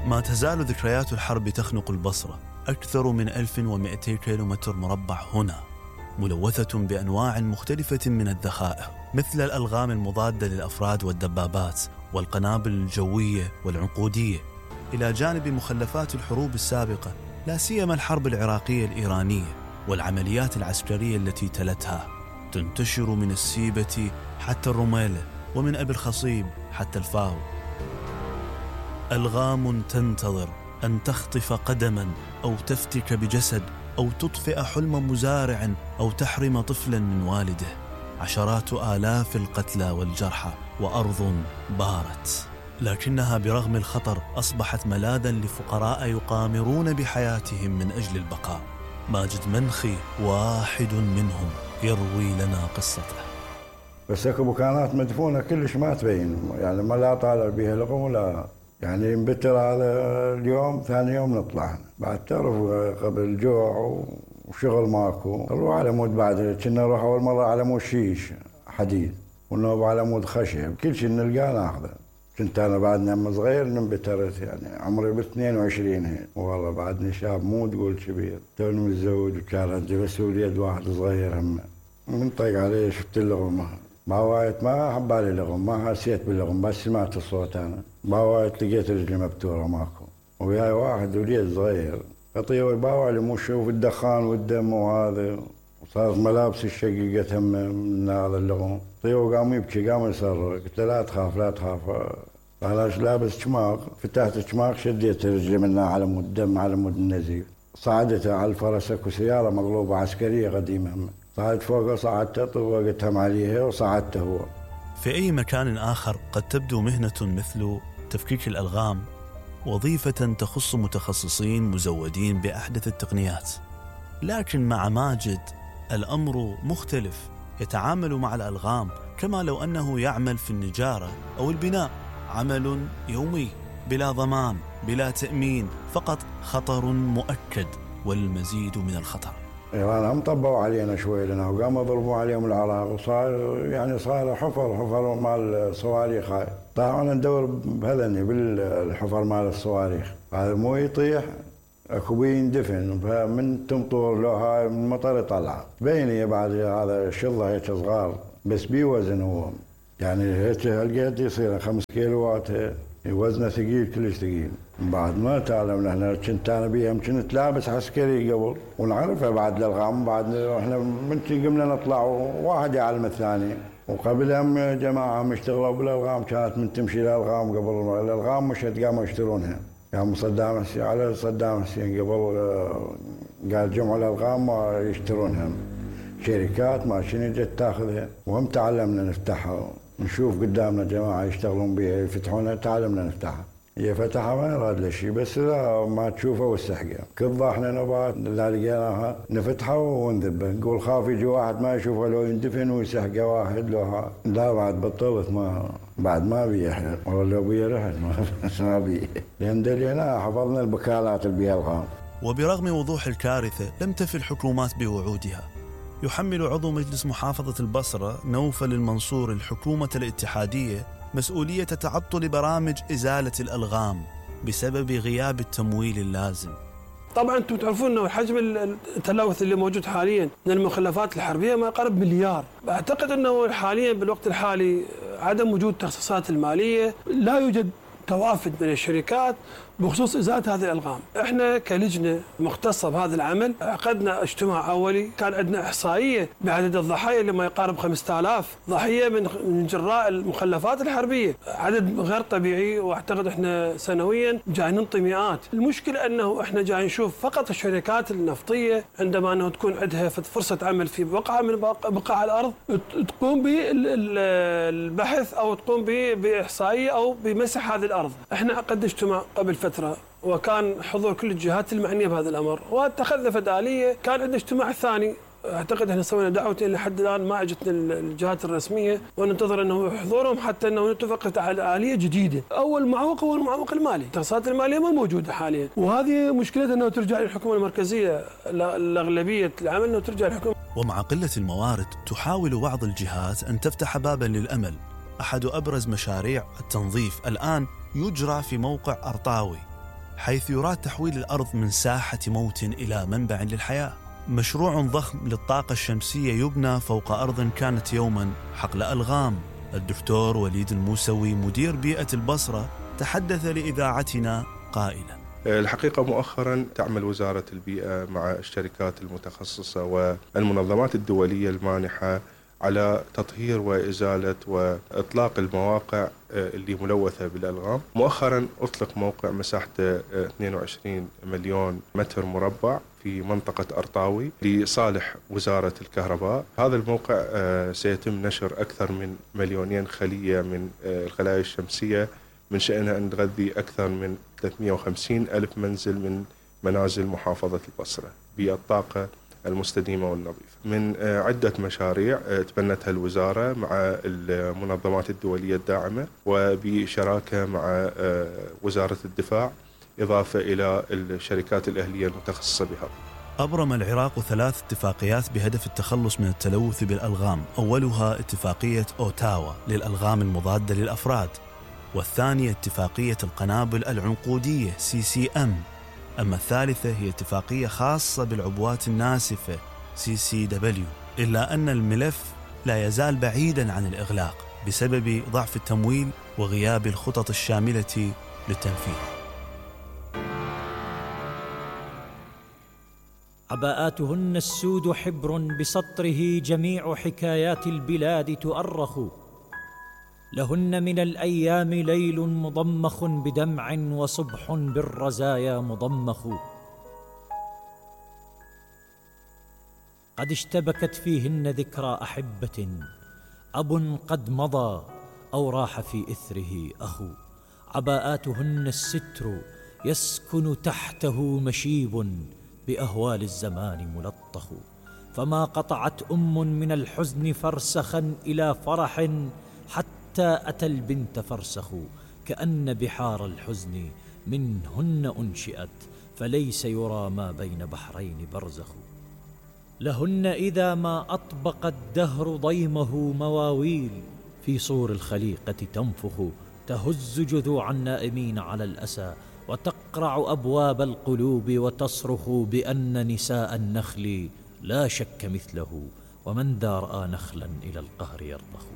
ما تزال ذكريات الحرب تخنق البصرة. أكثر من 1200 كيلومتر مربع هنا، ملوثة بأنواع مختلفة من الذخائر، مثل الألغام المضادة للأفراد والدبابات والقنابل الجوية والعنقودية، إلى جانب مخلفات الحروب السابقة، لا سيما الحرب العراقية الإيرانية والعمليات العسكرية التي تلتها، تنتشر من السيبة حتى الرميلة، ومن أبي الخصيب حتى الفاو. ألغام تنتظر أن تخطف قدما أو تفتك بجسد أو تطفئ حلم مزارع أو تحرم طفلا من والده. عشرات آلاف القتلى والجرحى وأرض بارت، لكنها برغم الخطر أصبحت ملاذا لفقراء يقامرون بحياتهم من أجل البقاء. ماجد منخي واحد منهم يروي لنا قصته. بس اكو مكانات مدفونة كلش ما تبين، يعني ما لا طالع بها لغم ولا يعني نبتر على اليوم، ثاني يوم نطلع. بعد تعرف قبل الجوع وشغل ماكو، نروح على مود بعد كنا نروح اول مرة على مود شيش حديد ونوب على مود خشب، كل شيء نلقاه ناخذه. كنت انا بعدنا لما صغير نبترت، يعني عمري ب 22 هيك، والله بعدني شاب مو تقول كبير، توني متزوج وكان عندي بس ولد واحد صغير هم. من طيق عليه شفت اللغمة باوايت، ما حبالي لغم، ما حسيت باللغم، بس سمعت الصوت انا باوايت، لقيت رجلي مبتوره ماكو، وياي واحد وليد صغير اطير باوعي مو شوف الدخان والدم وهذا، وصارت ملابسي الشقيقة هم من هذا اللغم. طيور قام يبكي قام يصرخ، قلت له لا تخاف لا تخاف. علاش لابس شماغ، فتحت الشماغ شديت رجلي منها على مود الدم على مود النزيف. صعدتها على الفرس، اكو سياره مقلوبه عسكريه قديمه، صعدت فوقها صعدتها طوقتهم عليها وصعدته هو. في أي مكان آخر قد تبدو مهنة مثل تفكيك الألغام وظيفة تخص متخصصين مزودين بأحدث التقنيات، لكن مع ماجد الأمر مختلف. يتعامل مع الألغام كما لو أنه يعمل في النجارة أو البناء، عمل يومي بلا ضمان بلا تأمين، فقط خطر مؤكد والمزيد من الخطر. إيران هم طبوا علينا شوي لنا وقاموا يضربوا عليهم العراق، وصار يعني صار حفر مال الصواريخ. هاي طلعنا ندور بهذني بالحفر مال الصواريخ، هذا مو يطيح اكو بيه يندفن، فمن تمطر له هاي من المطر يطلع بيني بعد هذا شظه هيك صغار بس بيه وزن هو، يعني هيك هالقد يصير 5 كيلوات، وزنه ثقيل كلش ثقيل. بعد ما تعلمنا احنا، كنت انا بيهم كنت لابس عسكري قبل ونعرفها بعد الالغام، بعد احنا من قمنا نطلع واحد يعلم الثاني، وقبلهم جماعه يشتغلوا بالالغام، كانت من تمشي الالغام قبل الالغام مشت قاموا يشترونها، يعني صدام حسين على صدام حسين قبل قال جمعوا الالغام ويشترونها شركات ما شنو جت تاخذها، وهم تعلمنا نفتحها، نشوف قدامنا جماعه يشتغلون بها يفتحونها، تعلمنا نفتحها. هي فتحها ما يراد له شيء، بس لا ما تشوفها والسحقه، كل احنا نبات لا لقيناها نفتحها ونذبها، نقول خاف يجي واحد ما يشوفها لو يندفن ويسحقه واحد لو لا بعد بطلت، ما بعد ما بيه، والله لو بيه رحت ما بيه، لان دلينا حفظنا البكالات اللي بيها الغام. وبرغم وضوح الكارثه لم تفي الحكومات بوعودها. يحمل عضو مجلس محافظة البصرة نوفل المنصور الحكومة الاتحادية مسؤولية تعطل برامج إزالة الألغام بسبب غياب التمويل اللازم. طبعا انتم تعرفون انه حجم التلوث اللي موجود حاليا من المخلفات الحربيه ما يقارب مليار. اعتقد انه حاليا بالوقت الحالي عدم وجود التخصيصات الماليه، لا يوجد توافد من الشركات بخصوص إزالة هذه الألغام. احنا كلجنة مختصة بهذا العمل عقدنا اجتماع أولي، كان عندنا إحصائية بعدد الضحايا اللي ما يقارب 5000 ضحية من جراء المخلفات الحربية، عدد غير طبيعي، واعتقد احنا سنويا جاي ننطي مئات. المشكلة انه احنا جاي نشوف فقط الشركات النفطية عندما انه تكون عندها فرصة عمل في بقعة من بقاع الأرض تقوم بالبحث أو تقوم بإحصائية أو بمسح هذه الأرض. احنا عقدنا اجتماع قبل فترة وكان حضور كل الجهات المعنية بهذا الأمر، واتخذنا فدالية. كان عندنا اجتماع الثاني، اعتقد احنا سوينا دعوتين لحد الآن ما اجتنا الجهات الرسمية، وننتظر انه حضورهم حتى انه نتفق على آلية جديدة. اول معوق هو المعوق المالي، التخصيصات المالية ما موجودة حاليا، وهذه مشكلتها انه ترجع للحكومة المركزية، الأغلبية العمل انه ترجع للحكومة. ومع قلة الموارد تحاول بعض الجهات ان تفتح بابا للأمل. احد ابرز مشاريع التنظيف الآن يجرى في موقع أرطاوي، حيث يراد تحويل الأرض من ساحة موت إلى منبع للحياة. مشروع ضخم للطاقة الشمسية يبنى فوق أرض كانت يوما حقل ألغام. الدكتور وليد الموسوي مدير بيئة البصرة تحدث لإذاعتنا قائلا: الحقيقة مؤخرا تعمل وزارة البيئة مع الشركات المتخصصة والمنظمات الدولية المانحة على تطهير وإزالة وإطلاق المواقع اللي ملوثة بالألغام. مؤخرا أطلق موقع مساحته 22 مليون متر مربع في منطقة أرطاوي لصالح وزارة الكهرباء. هذا الموقع سيتم نشر أكثر من 2,000,000 خلية من الخلايا الشمسية، من شأنها أن تغذي أكثر من 350,000 منزل من منازل محافظة البصرة بالطاقة المستديمة والنظيفة. من عدة مشاريع تبنتها الوزارة مع المنظمات الدولية الداعمة وبشراكة مع وزارة الدفاع، إضافة إلى الشركات الأهلية المتخصصة بها. أبرم العراق 3 اتفاقيات بهدف التخلص من التلوث بالألغام، أولها اتفاقية أوتاوا للألغام المضادة للأفراد، والثانية اتفاقية القنابل العنقودية CCM، أما الثالثة هي اتفاقية خاصة بالعبوات الناسفة CCW. إلا أن الملف لا يزال بعيدا عن الإغلاق بسبب ضعف التمويل وغياب الخطط الشاملة للتنفيذ. عباءاتهن السود حبر بسطره جميع حكايات البلاد تؤرخ، لهن من الأيام ليل مضمخ بدمع وصبح بالرزايا مضمخ، قد اشتبكت فيهن ذكرى أحبة، أب قد مضى أو راح في إثره أخو، عباءاتهن الستر يسكن تحته مشيب بأهوال الزمان ملطخ، فما قطعت من الحزن فرسخا إلى فرح حتى أتى البنت فرسخ، كأن بحار الحزن منهن أنشئت فليس يرى ما بين بحرين برزخ، لهن إذا ما أطبق الدهر ضيمه مواويل في صور الخليقة تنفخ، تهز جذوع النائمين على الأسى وتقرع أبواب القلوب وتصرخ بأن نساء النخل لا شك مثله، ومن ذا رأى نخلا إلى القهر يرضخ.